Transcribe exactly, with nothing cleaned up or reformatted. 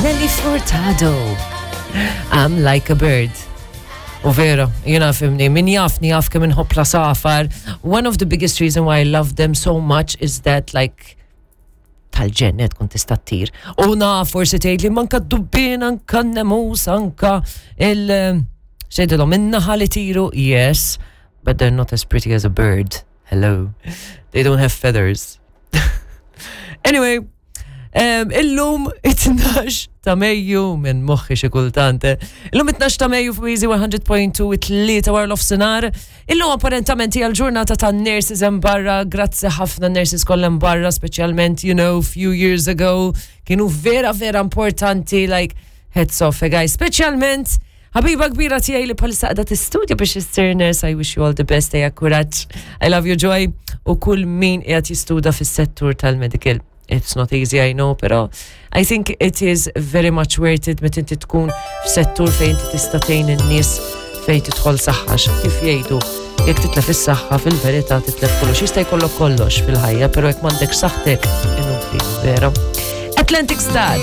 Nelly Furtado. I'm like a bird. U vera, jiena ifhimni, min jafni jaf kemm inħobb l-għasafar. One of the biggest reason why I love them so much is that, like, tal-ġennet tkun tista' ttir. U na forsi tgħid li manka d-dubbien, anka n-nemus, anka il- xejdilhom in-naħal itiru, yes, but they're not as pretty as a bird. Hello. They don't have feathers. Anyway, um, illum it-tnax ta' Mejju minn moħħi xi kultant. Illum it-tnax ta' Mejju fuq Easy one hundred point two, it-tlieta wara nofsinhar. Illum apparentament hija l-ġurnata ta' nurses hemm barra, grazzi ħafna nurses kollha hemm barra, speċjalment, you know, few years ago, kienu vera vera importanti, like, hats off, eh, guys, speċjalment ħabiba kbira tiegħi li bħalissa qiegħda tistudja biex issir nurse. I wish you all the best, ejja kuraġġ. I love you, Joy. U kull min qiegħed jistuda fis-settur tal-medical. It's not easy, I know, pero I think it is very much worth it meta inti tkun f'settur fejn inti tista' tgħin in-nies fejn tidħol saħħa. Kif jgħidu, jekk titlef is-saħħa, fil-verità titlef kollox. Jista' jkollok kollox fil-ħajja, pero jekk m'għandek saħħtek, inutli, vera. Atlantic Star.